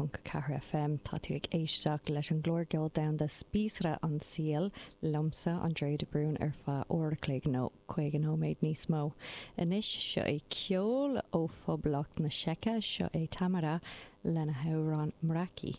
106.4 FM. Tá tú ag éisteacht leis an gclár ceol domhanda Spíosra an tSaoil liomsa, Andrea de Brún, ar feadh uair a chloig nó 50 nóiméad níos mó. Anois, seo é ceol ó Phoblacht na Seice, seo é Tamara lena hamhrán Mraky.